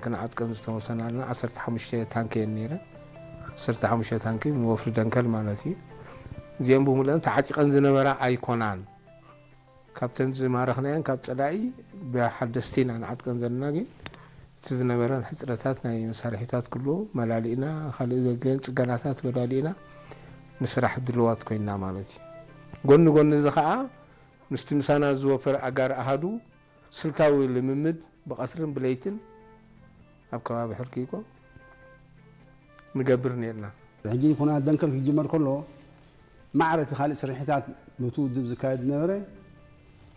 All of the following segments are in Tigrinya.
ክንዓጥቀን ዝተወሰናልና ዓሰርተ ሓሙሽተ ታንኪ እየን ነይረን። ዓሰርተ ሓሙሽተ ታንኪ ንወፍሪ ደንከል ማለት እዩ። እዚኦም ብምሉአን ተዓጢቐን ዝነበራ ኣይኮናን። ካብተን ዝማረኽናየን ካብ ጸላኢ ብሓደስቲ ኢና ንዓጥቀን ዘለና፣ ግን እቲ ዝነበረን ሕጽረታት ናይ መሳርሒታት ኩሉ መላሊእና፣ ካልእ ዘድልየን ጽገናታት መላሊእና ንስራሕ ድልዋት ኮይንና ማለት እዩ። ጎኒ ጎኒ እዚ ኸኣ ምስቲ ምሳና ዝወፈረ ኣጋር ኣሃዱ ስልታዊ ልምምድ ብቐትርን ብለይትን ኣብ ከባቢ ሕርኪቆ ንገብር ነርና። ሕጂ ኩናት ደንከል ክጅመር ከሎ ማዕረ እቲ ካልእ ስርሒታት ነቲ ውድብ ዝካየድ ዝነበረ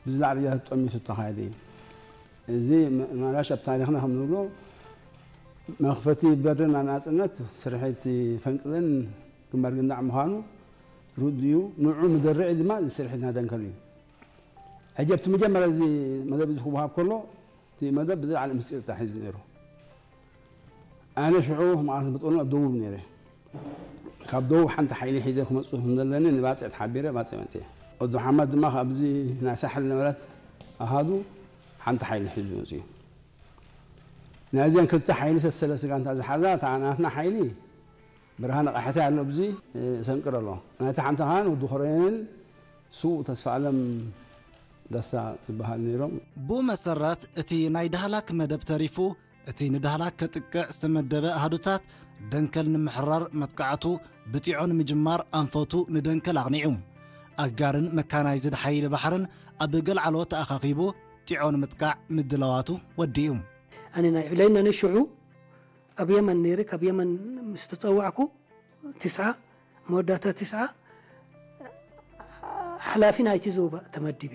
ብዝላዕሊ እያ ተጠሚቱ ዝተኻየደ እዩ። እዚ መ-፣ ማራሽ ኣብ ታሪኽና ከም ንብሎ መኽፈቲ በርን ናጽነት ስርሒት ፈንቅልን ግንባር ግንዳዕ ምዃኑ ርዱእ እዩ። ንዑ መደርዒ ድማ እዚ ስርሒትና ደንከል እዩ። ሕጂ ኣብቲ መጀመርያ እዚ መደብ እዚ ክወሃብ ከሎ እቲ መደብ ብዝለዓለ ምስጢር ተታሒዙ ነይሩ። ኣነ ሽዑ ማለት ብጥቕኑ ኣብ ደቡብ ነይረ። ካብ ደቡብ ሓንቲ ሓይሊ ሒዘ ክመጽእ ከም ዘለኒ ንባጽዕ ተሓቢረ ባጽዕ መጽየ። ወዲ ሓማድ ድማ ካብዚ ናይ ሳሕል ነበረት ኣሃዱ ሓንቲ ሓይሊ ሒዙ መጽዩ። ናይዚኣን ክልተ ሓይሊ ሰሰለ ስጋንታ ዝሓዛ እታ ናትና ሓይሊ ብርሃነ ቃሕታይ ኣሎ ብዚ፣ እ፣ ሰንቅር ኣሎ። ናይታ ሓንቲ ኻን ወዲ ኮረንን ስዉእ ተስፋ ኣለም ደስታ ዝበሃል ነይሮም። ብኡ መሰረት እቲ ናይ ዳህላክ መደብ ተሪፉ፣ እቲ ንዳህላክ ከጥቅዕ ዝተመደበ ኣሃዱታት ደንከል ንምሕራር መጥቃዕቱ ብጢዖ ንምጅማር ኣንፈቱ ንደንከል ኣቕኒዑ። ኣጋርን መካናይዝድ ሓይሊ ባሕርን ኣብ ገልዓሎ ተኣኻኺቡ ጢዖ ንምጥቃዕ ምድላዋቱ ወዲኡ። ኣነ ናይ ዕብለይና ነሽዑ ኣብ የመን ነይረ፣ ካብ የመን ምስ ተጸዋዕኩ ትስዓ፣ መወዳእታ ትስዓ ሓላፊ ናይቲ ዞባ ተመዲበ።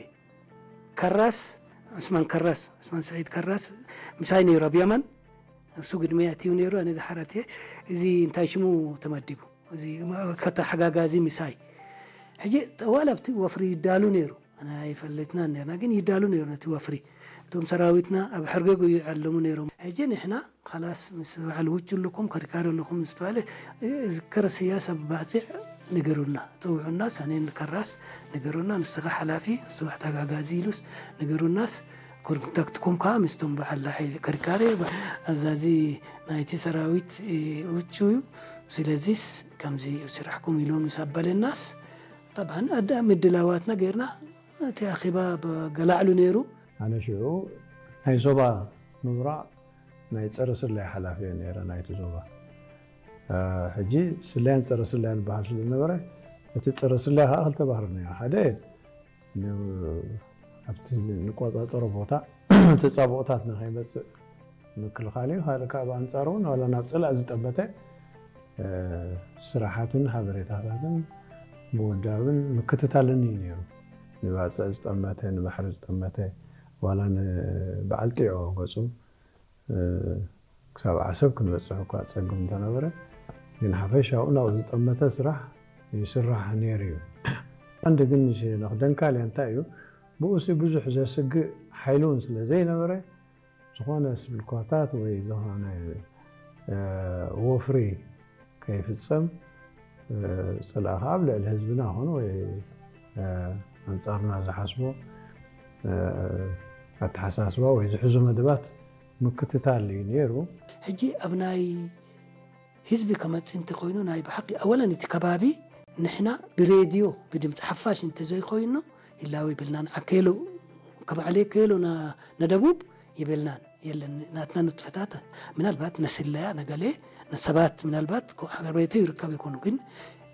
ከራስ፣ ዑስማን ከራስ፣ ዑስማን ሰዒድ ከራስ ምሳይ ነይሩ ኣብ የመን። እሱ ግድመይ ኣትዩ ነይሩ፣ ኣነ ድሓር ኣትየ። እዚ እንታይ ሽሙ ተመዲቡ፣ እዚ ከተሓጋጋዚ ምሳይ። ሕጂ ዋላ ኣብቲ ወፍሪ ይዳሉ ነይሩ፣ ኣነ ኣይፈልጥናን ነርና፣ ግን ይዳሉ ነይሩ ነቲ ወፍሪ። እቶም ሰራዊትና ኣብ ሕርገጉ ይዕለሙ ነይሮም። ሕጂ ንሕና ኻላስ ምስ በዓል ውጭ ኣለኩም፣ ከሪካሪ ኣለኩም ምስ በሃለ፣ እዚ ከረስያ ሰብ ባጽዕ ንገሩና፣ ጽውዑና፣ ሰኔን ከራስ ንገሩና፣ ንስኻ ሓላፊ፣ ንስኻ ተጋጋዚ ኢሉስ ንገሩናስ፣ ኮንታክትኩም ከኣ ምስቶም በዓል ሓይሊ ከሪካሪ፣ ኣዛዚ ናይቲ ሰራዊት፣ እ፣ ውጭ እዩ። ስለዚስ ከምዚ እዩ ስራሕኩም ኢሎም ምስ ኣበለናስ፣ ጠብዓን ኣዳ ምድላዋትና ጌርና፣ እቲ ኣኼባ ብ-፣ ገላዕሉ ነይሩ። ኣነ ሽዑ ናይ ዞባ ምብራቕ ናይ ጸረ ስለያ ሓላፊ እየ ነይረ ናይቲ ዞባ። እ፣ ሕጂ ስለያን ጸረ ስለያን በሃል ስለ ዝነበረ፣ እቲ ጸረ ስለያ ከኣ ክልተ ባህሪ ነይሩ። ሓደ ን-፣ ኣብቲ ንቆጻጸሮ ቦታ ተጻብኦታት ንኸይመጽእ ምክልኻል እዩ። ካልእ ከኣ ብኣንጻሩ እውን ዋላ ናብ ጽላእ ዝጠመተ፣ እ፣ ስራሓትን ሓበሬታታትን ምውዳብን ምክትታልን እዩ ነይሩ። ንባጽዕ ዝጠመተ፣ ንባሕሪ ዝጠመተ፣ ዋላ ንበዓል ጢዖ ገጹ፣ እ፣ ክሳብ ዓሰብ ክንበጽሕ እኳ ጸግም እንተነበረ፣ ግን ሓፈሻኡ ናብኡ ዝጠመተ ስራሕ ይስራሕ ነይሩ እዩ። ቀንዲ ግን ሸነኽ ደንካልያ እንታይ እዩ? ብኡሲ ብዙሕ ዘስግእ ሓይሊ እውን ስለ ዘይነበረ፣ ዝኾነ ስብልኳታት ወይ ዝኾነ፣ እ፣ ወፍሪ ከይፍጸም፣ እ፣ ጽልኢ ከኣ ኣብ ልዕሊ ህዝብና ኾነ ወይ፣ እ፣ ኣንጻርና ዝሓስቦ፣ እ፣ ኣተሓሳስባ ወይ ዝሕዙ መደባት ምክትታል እዩ ነይሩ። ሕጂ ኣብ ናይ ህዝቢ ከመጽእ እንተኾይኑ ናይ ብሓቂ ኣወለን እቲ ከባቢ ንሕና ብሬድዮ ብድምፂ ሓፋሽ እንተዘይኮይኑ ህላወ ይብልናን። ዓከሎ ከባዕለ ከሎ ና-፣ ነደቡብ ይብልናን የለን። ናትና ንጥፈታት ምናልባት ነስለያ ነገሌ ነሰባት ምናልባት ኮ-፣ ሃገር ቤቱ ይርከብ ይኮኑ፣ ግን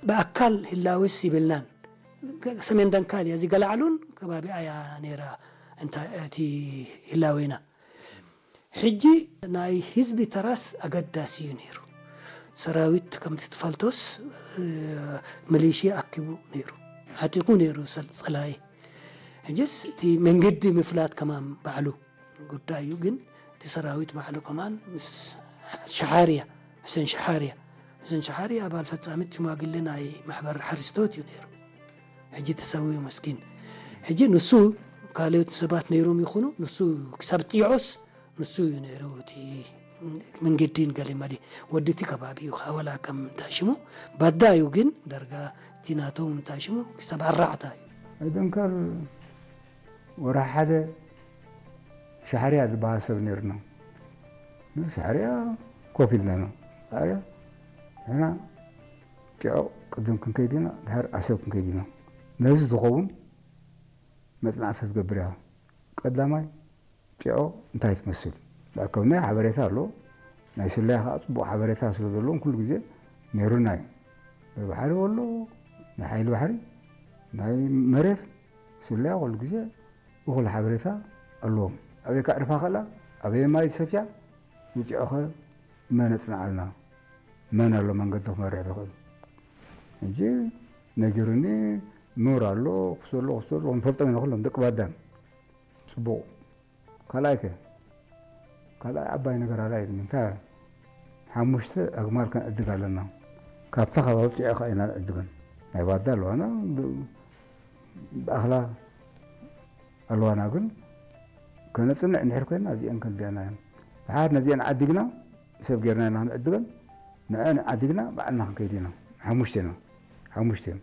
ብኣካል ህላወስ ይብልናን። ገ-፣ ሰሜን ደንካል እያ፣ እዚ ገላዕሉን ከባቢ ኣያ ነይራ። እንታ እቲ ህላዌና ሕጂ ናይ ህዝቢ ተራስ ኣገዳሲ እዩ ነይሩ። ሰራዊት ከምቲ ትፈልጦስ፣ እ፣ መሌሽያ ኣኪቡ ነይሩ፣ ዓጢቑ ነይሩ ሰል-፣ ጸላኢ። ሕጅስ እቲ መንገዲ ምፍላጥ ከማን ባዕሉ ጉዳይ እዩ። ግን እቲ ሰራዊት ባዕሉ ከማን ምስ ሸሓርያ፣ ሑሴን ሸሓርያ፣ ሑሴን ሸሓርያ ኣባል ፈጻሚት ሽማግሌ ናይ ማሕበር ሓሪስቶት እዩ ነይሩ። ሕጂ ተሰዊኡ መስኪን። ሕጂ ንሱ ካልኦት ሰባት ነይሮም ይኹኑ፣ ንሱ ክሳብ ጢዖስ ንሱ እዩ ነይሩ። እቲ መንገዲን ገሊመሊ ወዲ እቲ ከባቢ እዩ፣ ወላ ከም እንታይ ሽሙ ባዳ እዩ፣ ግን ዳርጋ እቲ ናቶም እንታይ ሽሙ ክሳብ ኣራዕታ እዩ። ደንከል ወርሒ ሓደ ሻሕርያ ዝበሃል ሰብ ነይርና። ንሳዕርያ ኮፍ ኢልና ኢና። ሳዕርያ ንሕና ጭዖ ቅድም ክንከይድ ኢና፣ ድሓር ዓሰብ ክንከይድ ኢና። ነዚ ዝኸውን መጽናዕቲ ክትገብር ኢኻ። ቀዳማይ ጭዖ እንታይ ትመስል? ዝኣከብናዮ ሓበሬታ ኣሎ። ናይ ስለያ ከዓ ጽቡቕ ሓበሬታ ስለ ዘለዎም ኩሉ ግዜ ነይሩና እዩ። ናይ ባሕሪ ወሎ፣ ናይ ሓይሊ ባሕሪ፣ ናይ መሬት ስለያ ኩሉ ግዜ እኹል ሓበሬታ ኣለዎም። ኣበይ ከዕርፋ ከላ፣ ኣበይ ማይ ዝሰትያ፣ ንጭዖኸ መን ኣጽንዓልና? መን ኣሎ መንገዲ ክመርሕ ዝኽእል? ሕጂ ነጊሩኒ፣ ኑር ኣሎ፣ ክሶ ኣሎ፣ ክሶ ኣሎ፣ ክንፈልጦም ኢና ኩሎም ደቂ ባዳን። ጽቡቕ። ካልኣይ ከ? ካልኣይ ዓባይ ነገር ኣላ ኢልኒ። እንታይ? ሓሙሽተ ኣግማል ከነዕድግ ኣለና። ካብታ ከባቢ ጭዖ ከኣ ኢና ንዕድገን። ናይ ባዳ ኣለዋና፣ ብ-፣ ብኣኽላ ኣለዋና፣ ግን ከነጽንዕ እንድሕር ኮይና እዚአን ከንድያና እየን። ድሓር ነዚአን ዓዲግና፣ ሰብ ጌርና ኢና ክንዕድገን፣ ንዐን ዓዲግና ባዕልና ክንከይድ ኢና። ሓሙሽተ ኢና። ሓሙሽተ እዮም።